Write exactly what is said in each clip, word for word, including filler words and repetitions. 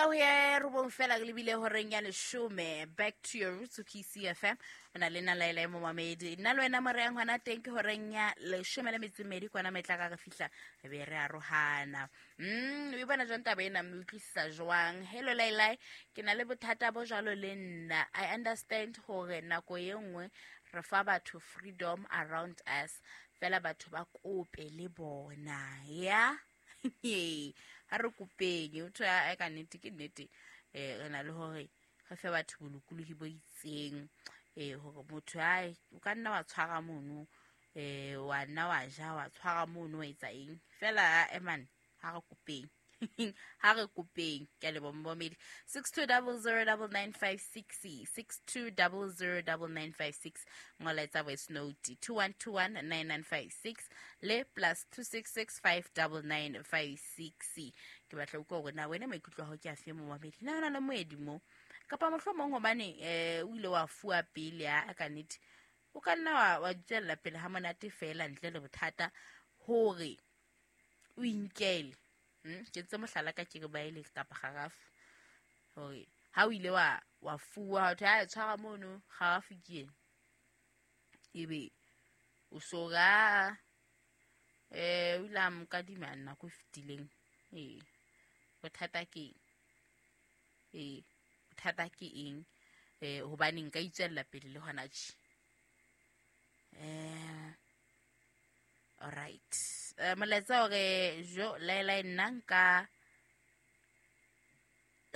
Metsotso ho ye robong fela re lebile horeng ya leshome. Back to your roots K C F M. O na le nna Laila Momamedi. Nna le wena moreng hona teng ke horeng ya leshome le metso e mmedi kwana metla ka re fihla re be re arohana. Mm, o bona jwang taba ena, mme utlwisisa jwang? Hello Laila, ke na le bothata bo jwalo le nna. I understand hore nako e nngwe re fa batho freedom around us. Fela batho ba kope le bona. Ya? Ha re kopeng, o thwe a ka nnete ke nnete. Eh, re na le hore re fe batho bolokolohi bo itseng. Eh, hore motho ai o ka nna wa tshwara mono, eh, wa nna wa ja, wa tshwara mono, wa etsa eng. Fela, eh, man, ha re kopeng. Ha re kopeng. Ke a leboha momamedi. six two double zero double nine five six, six two double zero double nine five six. Ngola etsa voice note two one two one nine nine five six le plus two six six five double nine five six. Ke batla ho utlwa hore na wena maikutlo a hao ke afe momamedi. Na hona le moedi mo? Kapa mohlomong hobane, eh, o ile wa fuwa pele a ka nnete, o ka nna wa, wa tswella pele ha monate fela ntle le bothata hore o inkele. Hmm? Ke ntse mohlala ka ke re ba ile kapa kgarafu. Hore ha o ile wa, wa fuwa, ha thwe, ha tshwara mono, kgarafu ke ena. Ebe o so ra, eh, o ile a mo kadima nako e fetileng. Ee, bothata ke eng? Ee, bothata ke eng? Eh, hobane nka itswella pele le hona tje. Eh, all right. Eh, molaetsa hore jo Laila nna nka,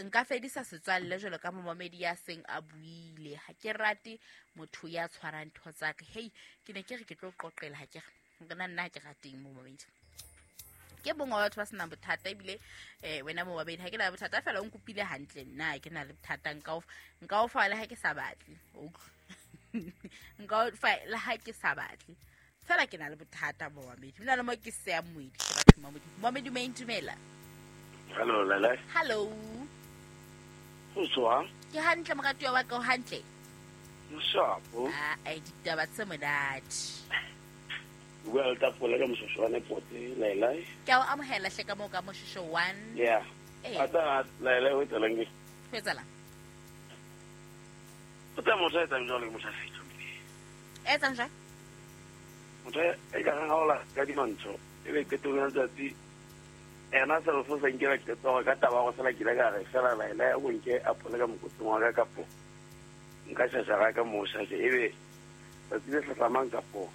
nka fedisa setswalle jwalo ka momamedi ya seng a buile. Ha ke rate motho ya tshwarang ntho tsa ka. Hei, ke ne ke re ke tlo qoqela, ha ke re nna nna ha ke rateng momamedi. Ke bongwe wa batho ba senang bothata ebile, eh, wena momamedi ha ke na bothata fela o nkopile hantle nna ha ke na le bothata, nka o, nka o fa le ha ke sa batle. O utlwa? Nka o fa le ha ke sa batle. Fela ke na le bothata momamedi. Hona le mo ke seya moedi, ke batho momamedi. Momamedi o intumela. Hello, Lele. Hello. Ho tswa? Ke hantle moratuwa wa ka, o hantle? Moshapo. Ah, ai ditaba tse monate. Bua le tafola ka moshosho wa Nepote, Laila. Ke a o amohela hle ka moo ka moshosho one. Yeah. Eh. Ata Laila ho etsalang ke? Ho etsalang? O tla motho a etsang jwalo ke motho a fetho. E etsang jwang? Motho e ka reng ha o la ka dimantsho, e be qetong ya letsatsi, ena se re fo sa nkela qeto hore ka taba ya go sala ke ile ka re fela Laila ya go nke apole ka mokoting wa ka kapo nka shashara ka mo shashe, e be tsatsi le hlahlamang kapo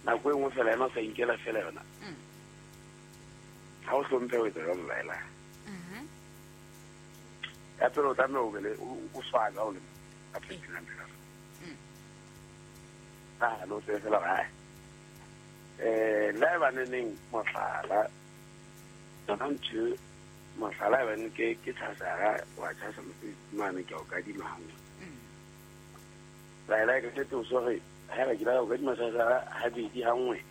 nako e nngwe fela ena o sa inkela fela yona. Mm. Ha o hlomphe ho etsa jwalo Laila. Mhm. Ya pele o tlameha o be le, o, o swabe ha o le ka phepheng phela. Mm. Ah, no tsebe fela hore, hai. Eh, la e baneneng mohlala, yona ntho e, mohlala e bane ke, ke tshasara, wa tshasa mosebetsi mane ke a o kadima hanngwe. Mm. Laila e ka nnete o so re, haeba ke la o kadima tshasara habedi hanngwe,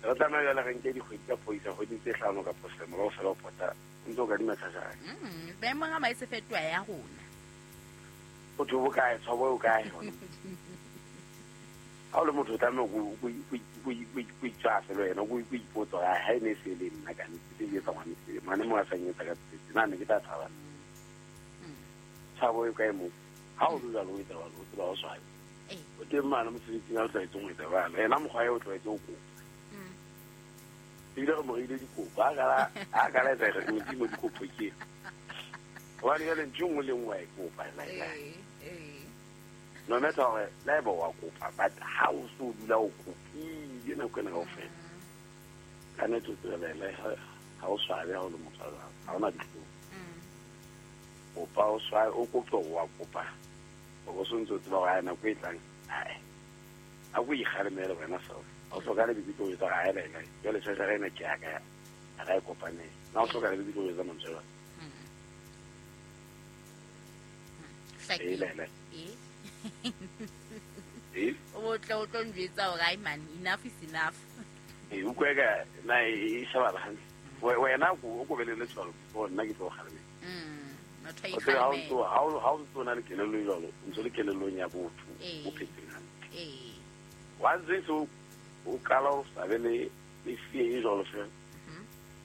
re tlameha jwale re nke dikgwedi tsa phoisa, kgwedi tse hlano kapa selemo kaofela ho pota, o ntso o kadima tshasara. Mm, maemong a maese fetoha ya rona. O tho bokae, tshwabo e okae hona? Ha o le motho o tlameha o ko, o ko, o ko, o itshwase le wena, o ko, o ipotse hore, ha e ne e se le nna ka nnete, se etsa ngwane se, ngwane mo a sa nyetsa ka tsetse, na ne ke tla thaba. Mm. Tshabo e kae moo? Ha o le jwalo, o etsa jwalo, o tseba o swabe. Eh. O teng mane mosebetsing ha o tlwaetse ho etsa jwalo, yena mokgwa eo o tlwaetse ho kopa. Mm. Ebile re mo reile dikopo, ha kala, ha kala etsa re modimo dikopo ke. Hobane jwale ntho e nngwe le nngwe wa e kopa, Laila. Eh, eh. No matter hore le haeba wa kopa, but ha o so dula o kopile nako ena kaofela. Mm. Ka nnete o tsebe Laila, ha, ha o swabe ha o le motho wa jwalo, ha ona dihlong. Mm. Kopa o swabe, o kope hore wa kopa. Hore o so ntse o tseba hore, hai, nako e tlang, hai. A ko ikgalemele wena self. Ha o hlokahale be ke tlo jwetsa hore, hai, Laila, jwale tjhajara ena ke ya ka, ha ra e kopanela. Na o hlokahale be ke tlo jwetsa mantswe a jwalo? Mm. Ee, Laila. Eh? Eh? O tle o tlo njwetsa hore, hai man, enough is enough. Eh, o utlwe ka na e, e shebala hantle. We-, wena o ko, o ko be le letswalo before nna ke tlo o kgalemela. Mm, motho a O tsebe ha o ikgalemela. ntso, ha o, ha o ntso na le kelello e jwalo, o ntso le kelellong ya botho, Eh. o phetseng hantle. Eh. Wa ntse so o qala o sa be le, le fear e jwalo fela. Mhm.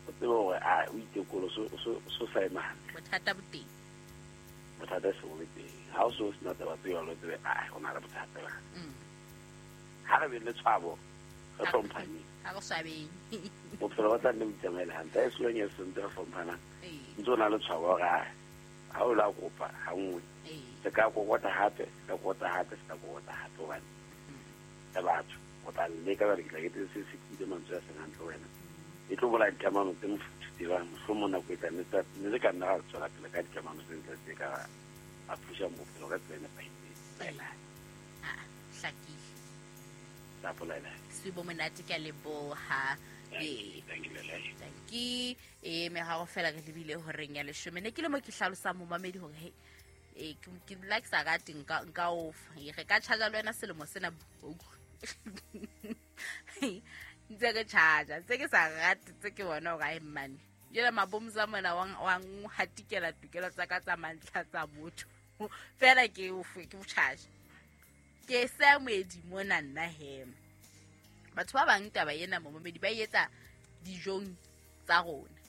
O tsebe hore a o itekolo so so so sa ema hantle. Bothata bo teng. Bothata se bo le teng. Ha o so sena taba tse jwalo, o tsebe a ho na le bothata ba. Ha re be le tshwabo, re hlomphane. Ha re swabeng. Bophelo ba tla nne bo itsamaele hantle. Ha e se leng e sentse re hlomphana. Ntse o na le tshwabo hore a ha o la kopa ha nngwe. Se ka kokota hape, se ka kokota hape, se ka kokota hape hobane le batho o tla leka ba re ke tla ke se se kile mantswe a seng hantle wena. E tlo bolaya dikamano tse mofuthu tse bang mohlomong nako e tlang ne le ka nna ra tswela pele ka dikamano tse ntle tse ka a phusha bophelo ka tsela e nepahetseng. Ah, hlakile. Tla bolela. Sebo monate ke a leboha. Eh, thank you, Lele. Thank you. Eh, me ha go fela re lebile horeng ya leshome. Ne ke le mo ke hlalosang momamedi hore he eh ke ke like sa rate nka nka ofa. Re ka charge le wena selemo sena. Ntse ke charge, tse ke sa rate tse ke bona hore ai mmane. Jela mabomza mona wa wa hatikela tokelo tsa ka tsa mantlha tsa botho. Fela ke o ke o charge. Ke se moedi mona nna he. Batho ba bang taba ena momamedi ba etsa dijong tsa rona.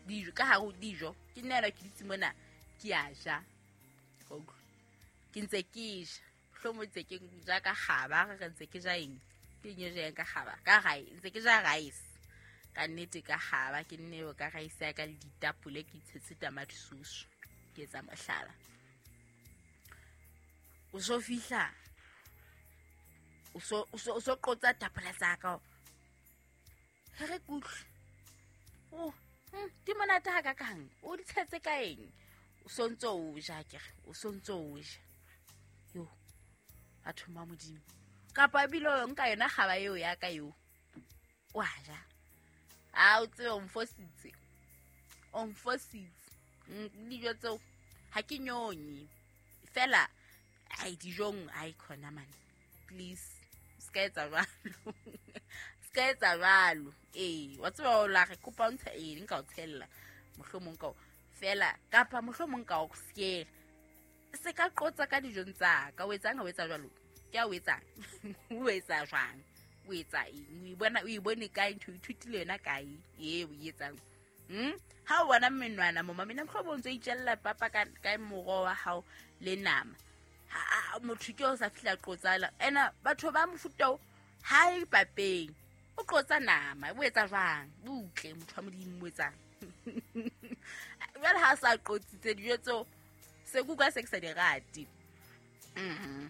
Dijo ka hare ho dijo ke nna ke ditse mona ke a ja. Ke ntse ke ja. Hlomo ntse ke ja ka kgaba, re ntse ke ja eng? Ke eng e jang ka kgaba? Ka rice, ntse ke ja rice. Ka nnete ka kgaba, ke nne ka rice ya ka le ditapole ke itshetse tamati sauce. Ke etsa mohlala. O so fihla. O so o so o so qotsa tapole tsa ka. He re kutlwe. Oh, hm, di monate ha ka kang. O di tshetse ka eng? O so ntso o ja kere, o so ntso o ja. Yo. Batho ba Modimo. Kapa ebile o nka yona kgaba eo ya ka eo. Wa ja. A o tsebe o mfositse. O mfositse. Dijo tseo ha ke nyonye. Fela ai dijong ai khona man. Please. Ska etsa jwalo. Ska etsa jwalo. Eh, wa tseba o la re kopa o ntsha eng nka o tshella. Mohlomong ka fela kapa mohlomong ka o siela. Se ka qotsa ka dijong tsa ka o etsang ha o etsa jwalo. Ke a o etsang. O etsa jwang? O etsa eng? O e bona o e bone kae ntho ithutile yona kae? E o etsang. Hm? Ha o bona menwana moma mina mhlobo ntse itjella papa ka ka moroho wa hao le nama. Ha motho ke o sa fihla qotsala. Ena batho ba mofuta o ha e papeng. O qotsa nama, o etsa jwang? Butle motho wa Modimo o etsang. Jwale ha sa qotsitse dijo tseo se kuka se ke sa di rate. Mhm.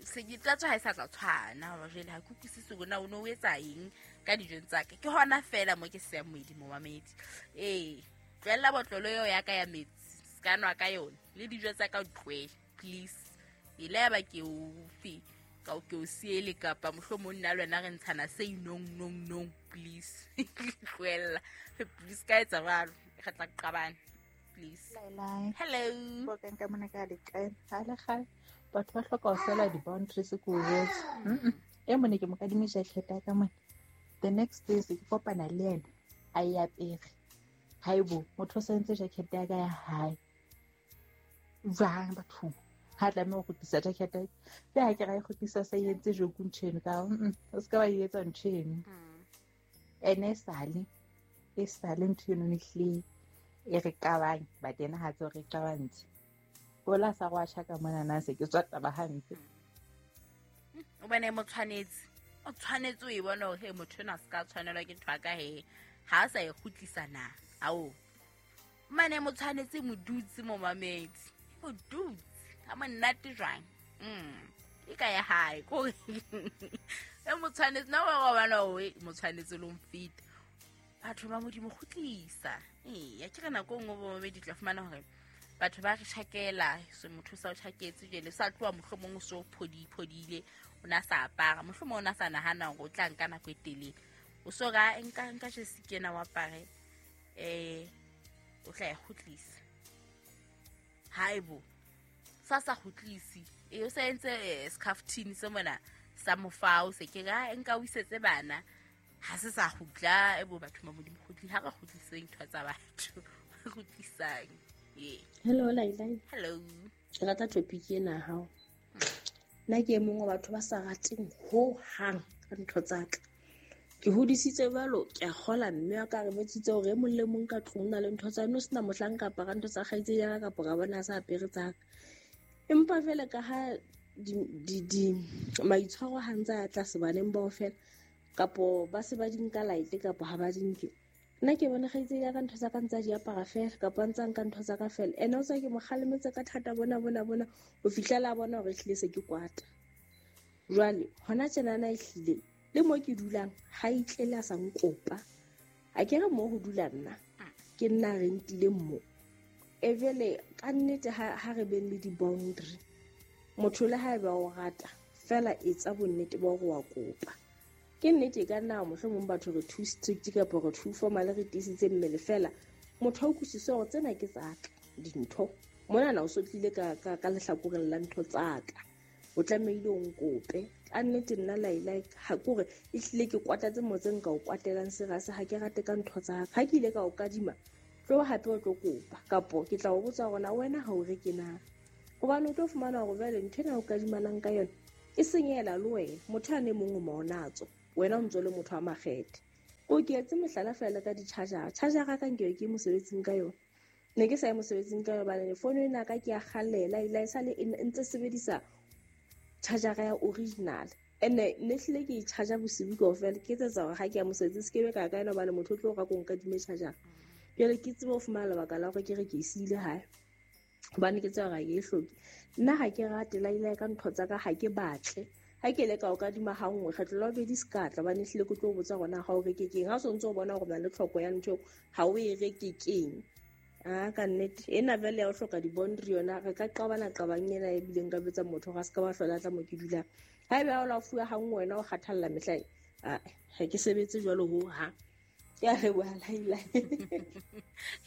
Se ke tla tswa ha e sa tla tshwana hore jwale ha ke utlwisise hore na o no o etsa eng ka dijong tsa ka. Ke hona fela mo ke seng moedi momamedi. Eh, tlohella botlolo eo ya ka ya metsi, se ka nwa ka yona. Le dijo tsa ka o tlohele, please. Ile ya ba ke o fe ka o ke o siele kapa mohlomong nna le wena re ntshana se inong nong nong, please. Tlohella. Please ka etsa jwalo. Re tla qabana. Please. Laila. Hello. Bo ka mona ka le kae? Ha le kgale. Batho ba hloka ho sela di-boundaries ko o jwetse. Mm-mm. E mone ke mo kadime jacket ya ka mone. The next day se ke kopana le yena a e apere. Haibo, motho o sentse jacket ya ka ya hae. Jwang bathong? Ha tlameha ho kgutlisa jacket ya ka. Ke ha ke ra e kgutlisa sa e entse joke ntho eno ka mm o se ka wa e etsa ntho eno. Ene e sale, e sale ntho eno ehlile e re qabang, but yena ha tsebe re qabantse. Bola sa go a tjha ka mona na se ke tswa taba hampe. O bone mo tshwanetse. O tshwanetse o e bona hore he motho ena se ka tshwanelwa ke ntho ya ka he. Ha a sa e kgutlisa na. Ao. Mane mo tshwanetse mo dutse mo mamedi. Mo dutse. Ha monate jwang. Mm. E ka ya hae ko. E mo tshwanetse na wa bona o mo tshwanetse lo mfita. Batho ba Modimo kgutlisa. Eh, ya ke re nako nngwe bo mamedi tla fumana hore batho ba re tjhakela, so motho sa o tjhaketse jwale sa tloha mohlomong o so phodi phodile, o na sa apara, mohlomong o na sa nahana hore o tla nka nako e telele. O so ra nka nka jesi kena wa apare eh o tla e kgutlisa. Haibo. Sa sa kgutlisi. E o sa entse scarftini se mona sa mofao se ke ra nka o isetse bana. Ha se sa kgutla e bo batho ba Modimo kgutli ha re kgutliseng ntho tsa batho. Re kgutlisang. Yeah. Hello Laila. Hello. Ke rata topic ena hao. Nna ke e mong wa batho ba sa rateng ho hang ka ntho tsa ka. Ke hodisitse jwalo, ke a kgola mme wa ka re botsitse hore e mong le mong ka tlung o na le ntho tsa no sena mohlang ka apara ntho tsa kgaitsedi ya ka kapa ka bona a sa apere tsa ka. Empa jwale ka ha di di di maitshwaro ha ntse a tlase baneng bao fela kapo ba se ba di nka light kapo ha ba di nke. Nna ke bona kgaitsedi ya ka ntho tsa ka ntse a di apara fela kapa ntse a nka ntho tsa ka fela. Ene o tswa ke mo kgalemetse ka thata bona bona bona ho fihlela a bona hore ehlile se ke kwata. Jwale hona tjenana ehlile le mo ke dulang ha itlele a sa nkopa. A ke re mo ho dula nna ke nna rentileng mo. E jwale ka nnete ha ha re beng le di-boundary. Motho le haeba o rata fela etsa bonnete ba hore wa kopa. Ke nnete e ka nna mohlomong batho re too strict kapa re too formal re tiisitse mmele fela. Motho a utlwisise hore tsena ke tsa ka dintho. Monana o so tlile ka ka ka lehlakoreng la ntho tsa ka. O tlamehile o nkope. Ka nnete nna Laila ha ke hore ehlile ke kwatatse mo tse nka o kwatelang serase ha ke rate ka ntho tsa ka. Ha ke ile ka o kadima tlo hape o tlo kopa kapo ke tla o botsa hore na wena ha o reke na. Hobane o tlo fumana hore jwale ntho ena o kadimanang ka yona e senyehela le wena. Motho a ne mong o maonatso wena o ntso le motho wa makgethe. Ko ke etse mohlala fela ka di-charger. Charger ka nke ke mosebetsing ka yona. Ne ke sa ye mosebetsing ka yona hobane fono ena ka ke ya kgallela ila e sale e ntse sebedisa charger ya original. Ene ne hlile ke e charger bosibu kaofela ke etsetsa hore ha ke ya mosebetsing se ke be ka ka yona hobane motho o tlo ra ko nkadime charger. Jwale ke tsebe ho fumana lebaka la hore ke re ke e siile hae. Hobane ke tseba hore ha ke e hloke. Nna ha ke rate Laila ka ntho tsa ka ha ke batle. Ha ke le ka o kadima ha nngwe kgetlo la bobedi se ka tla hobane ehlile ke tlo botsa hore na ha o reke keng. Ha o sontso o bona hore o na le tlhoko ya ntho eo ha o e reke keng. Ah ka nnete ena vele ya ho hloka di-boundary yona re ka qabana qabang ena e bileng ka betsa motho ga se ka ba hlola tla mo ke dulang. Haebe ha o la fuwa ha nngwe wena o kgathalla mehla ah ha ke sebetse jwalo ho ha. Ke a leboha Laila.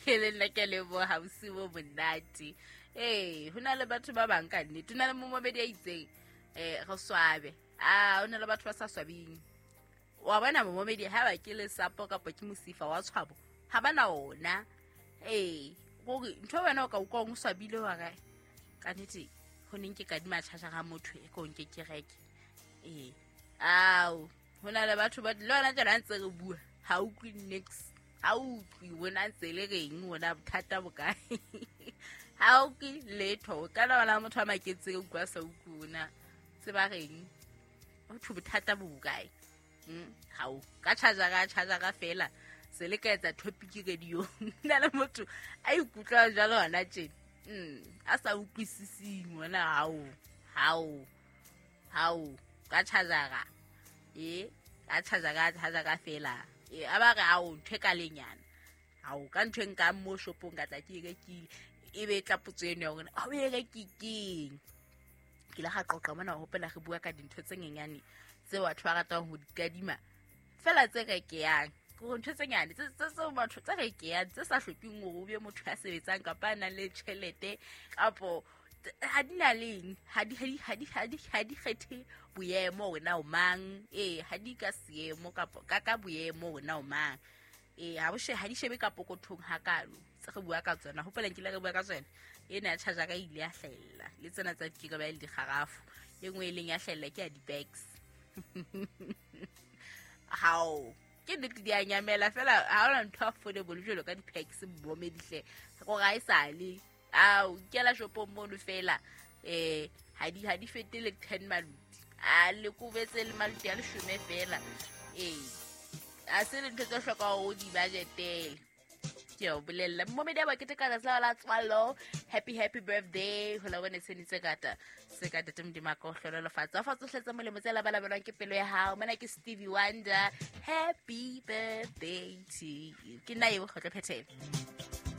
Ke le nna ke leboha bosiu bo monate. Ee, ho na le batho ba bang ka nnete. Ho na le momamedi a itseng eh re swabe. Ah, ho na le batho ba sa swabing. Wa bona momamedi ha ba ke lesapo kapa ke mosifa wa tshwabo ha ba na ona. Ee, hore ntho wena o ka utlwa o swabile hore ka nnete ho neng ke kadima charger ga motho e ko nke ke reke. Ee. Ao, ho na le batho ba le wena tjena ntse re bua ha utlwe nix. Ha utlwe wena ntse le reng wena bothata bo kae. Ha utlwe letho ka la wena motho a maketse utlwa sa utlwe wena tseba reng o thu bothata bo kae. Mm ha o ka charger ka charger ka fela se le ka etsa topic radio. Nna le motho a ikutlwa jwalo hona tjena. Mm a sa utlwisising wena hao hao hao ka charger ka e ka charger ka charger ka fela. E a ba re ao ntho e ka lenyana. Hao ka ntho e nkang mo shopong ka tla ke e rekile. E be tla potso eno ya hore ha o e reke keng. Ke ile ga qoqa mona ho hopola re bua ka dintho tse nyenyane tse batho ba ratang ho di kadima fela tse rekeyang. Ke hore ntho tse nyane tse tse tse batho tse rekeyang tse sa hlokeng hore o be motho ya sebetsang kapa a nang le tjhelete kapo ha di na leng ha di ha di ha di ha di ha di kgethe boemo wena o mang. Ee, ha di ka seemo kapo ka ka boemo wena o mang. Ee, ha bo she ha di shebe ka pokothong hakalo tse re bua ka tsona. Hopola nkile re bua ka tsona ena ya charger ka ile ya hlahella le tsena tsa dikirebe le dikgarafu. E nngwe e leng ya hlahella ke ya di-bags. Hao ke nnete di a nyamela fela ha hona ntho affordable jwalo ka di-packs momedihle gore ha e sale. Ao kela shopong mono fela eh ha di ha di fetele ten maluti a le kobetse le maluti a leshome fela. Ee, a se le ntho tse hlokang hore o di budgetele. Ke o bolella momedi a ba keteka letsatsi la la tswalo. Happy happy birthday ho la bone tse kata se ka tete Modimo a ka o hlohonolofatsa. Fa tsohle tse molemo tse labalabelwang ke pelo ya hao. Mona ke Stevie Wonder. Happy birthday to you. Ke nna eo Kgotlo Phethelo.